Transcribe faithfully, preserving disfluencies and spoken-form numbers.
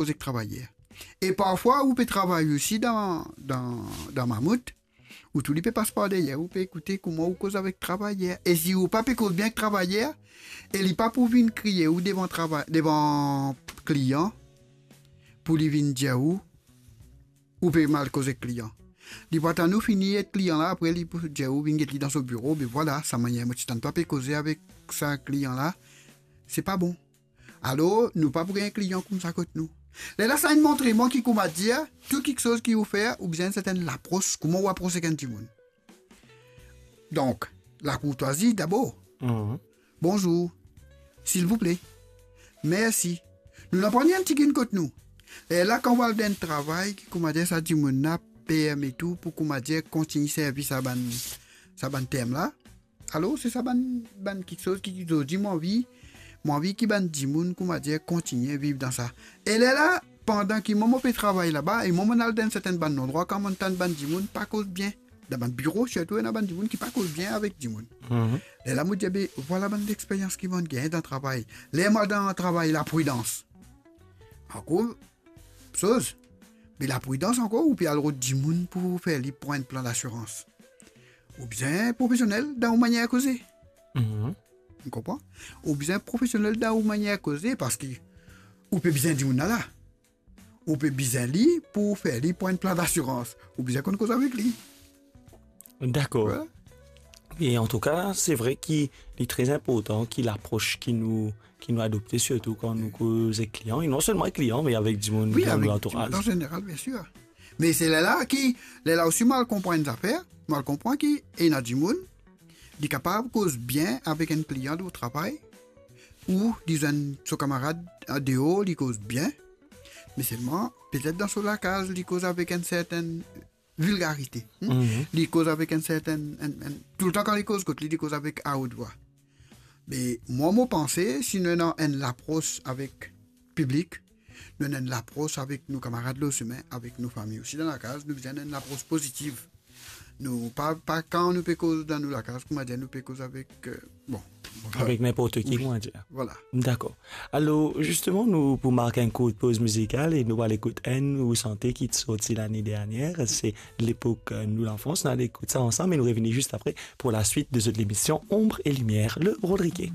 koz ek travayer. E parfwa ou pe travay osi dan, dan, dan mamout, ou tou li pe pas par deryer, ou pe ekoute kouma ou koz avek travayer. E si ou pa pe koz bien ek travayer, e li pa pou vinn kriye ou devan travay, devan klian, pou li vinn dir ou, ou pe mal koz ek klian. Li pou atann ou fini ek klian la, apre li pou dir ou vinn get li dan so biro, be vwala, sa manier mo ti tann twa pe koze avek sa klian la, se pa bon. Alor, nou pa pou gagn klian koumsa kot nou. Lerla sa inn montre mwa ki koumadir, tou kiksoz ki ou fer, ou bizin enn sertenn lapros, kouma ou apros ek enn dimoun. Donk, lakourtwazi dabor. Mhm. Bonzour. Silvouple. Mersi. Nou napa ni enn tigit kot nou. Lerla kan ou al dan enn travay, ki koumadir sa dimoun la permet ou pou koumadir kontign servi sa bann, sa bann term la. Alor, se sa bann, bann kiksoz ki zordi mo anvi, mo anvi ki bann dimoun, koumadir, kontign viv dan sa. E lerla, pandan ki mwa mo pe travay laba, e mwa, mo al dan sertenn bann landrwa, kan mo tann bann dimoun pa koz bien. Dan bann biro, sirtou, ena bann dimoun ki pa koz bien avek dimoun. Mhm. Lerla mo dir, be, vwala bann lexperyans ki mo gagn dan travay. Ler mo al dan travay, lapridans. Ankor, soz, be lapridans ankor, ou pe al rod dimoun pou fer li pran enn plan dasirans. Ou bizin profesionel dan ou manier koze. Mhm. Ou konpran? Ou bizin profesionel dan ou manier koze, parski ou pe bizin dimoun la la. Ou pe bizin li pou fer li pran enn plan dasirans. Ou bizin konn koz avek li. Dakor. Vwala. E antouka, se vre ki li tre inportan ki lapros ki nou, ki nou adopte, sirtou kan nou koz ek klian, e non selman ek klian, me avek dimoun dan nou lantouraz. Wi, avek dimoun an zeneral, biensir. Me se lerla ki, lerla osi mo al konpran enn zafer, mo al konpran ki ena dimoun, li kapav koz bien avek enn klian dan travay, ou li zwenn so kamarad andeor, li koz bien, me selman, petet dan so lakaz, li koz avek enn sertenn vilgarite, hmm? Mhm. Li koz avek enn sertenn, enn, enn, toultan kan li koz kot li, li koz avek aot vwa. Me mwa, mo panse, si nou ena enn lapros avek piblik, nou ena enn lapros avek nou kamarad lor sime, avek nou fami osi dan lakaz, nou bizin enn lapros pozitiv. Nou pa, pa kan nou pe koz dan nou lakaz, koumadir, nou pe koz avek, euh, bon, avek ninport ki, wi, koumadir. Vwala. Dakor. Alor, zisteman, nou pou mark enn kourt poz mizikal e nou al ekout enn ou sante ki ti sorti lane dernier, se Lepok, euh, nou lanfans. Nou al ekout sa ansam e nou revini zis apre pour la suite de cette émission Ombre et Lumière, le Rodriguet.